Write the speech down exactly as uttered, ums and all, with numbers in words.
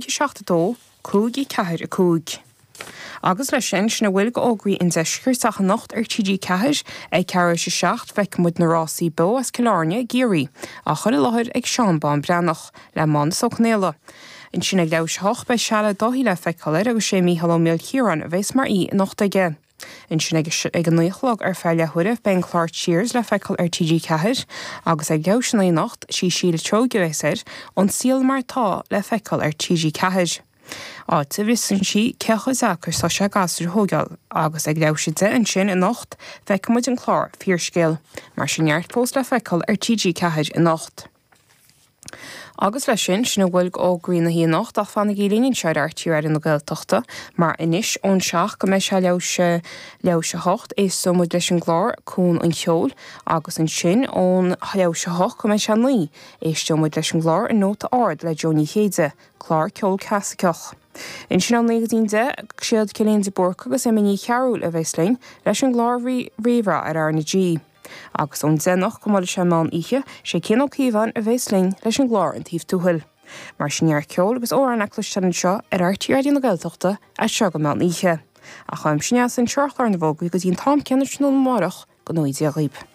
cúig seacht a dó, cúig ceathair a cúig. Agus leis sin sin a bhfuil d'fhógraí an deiscirt ach anocht ar TG Ceathair ag ceathrú a seacht feicfidh muid na rásaí beo as Cill Airne i gCiarraí á chur i láthair ag Seán Bán Breathnach le Mánas Ó Conghaile. Ansin ag leathuair théis a hocht beidh Seala Dáithí le feiceáil air agus sé Mícheál Ó Maoilchiaráin a bheas mar aoi anocht aige. Ansin ag ag a naoi a chlog ar feadh leathuaire beidh an clár Cheers le feiceáil ar TG Ceathair agus ag leathuair théis a naoi anocht sí Síle Tróige a bheas air an saol mar atá le feiceáil ar TG Ceathair. Áit a bhfriosann sí cé chomh deacair is atá sé gasúir a thógáil agus ag leathuair théis a deich ansin anocht feicfidh muid an clár Fíorscéal, mar sin neart fós le feiceáil ar TG Ceathair anocht. Agus leis sin sin a bhfuil d'fhógraí na hoíche anocht ach fanaigí linn anseo ar RTÉ Raidió na Gaeltachta mar anois ón seacht go mbeidh sé leathuair théis a hocht éisteoidh muid leis an gclár Cuan an Cheoil agus ansin ón leathuair théis a hocht go mbeidh sé naoi éisteoidh muid leis an gclár An Nóta Ard le Joe Ní Chéide, clár ceol clasaiceach. Ansin ón naoi go dtí an deich siad Cillian de Búrca agus Emma Ní Chearúil a bheas linn leis an gclár Rí-Rá ar R na G. Agus ón deich go mbeidh sé meán oíche sé Cian Ó Cíobháin a bheas linn leis an gclár an taobh tuathail. Mar sin neart ceol agus amhráin le cloisteáil anseo ar RTÉ Raidió na Gaeltachta as seo go meán oíche. Ach uaimse anseo ar chlár na bhfógraí go dtí an t-am céanna tráthnóna amárach go ngnóthaí Dia dhaoibh.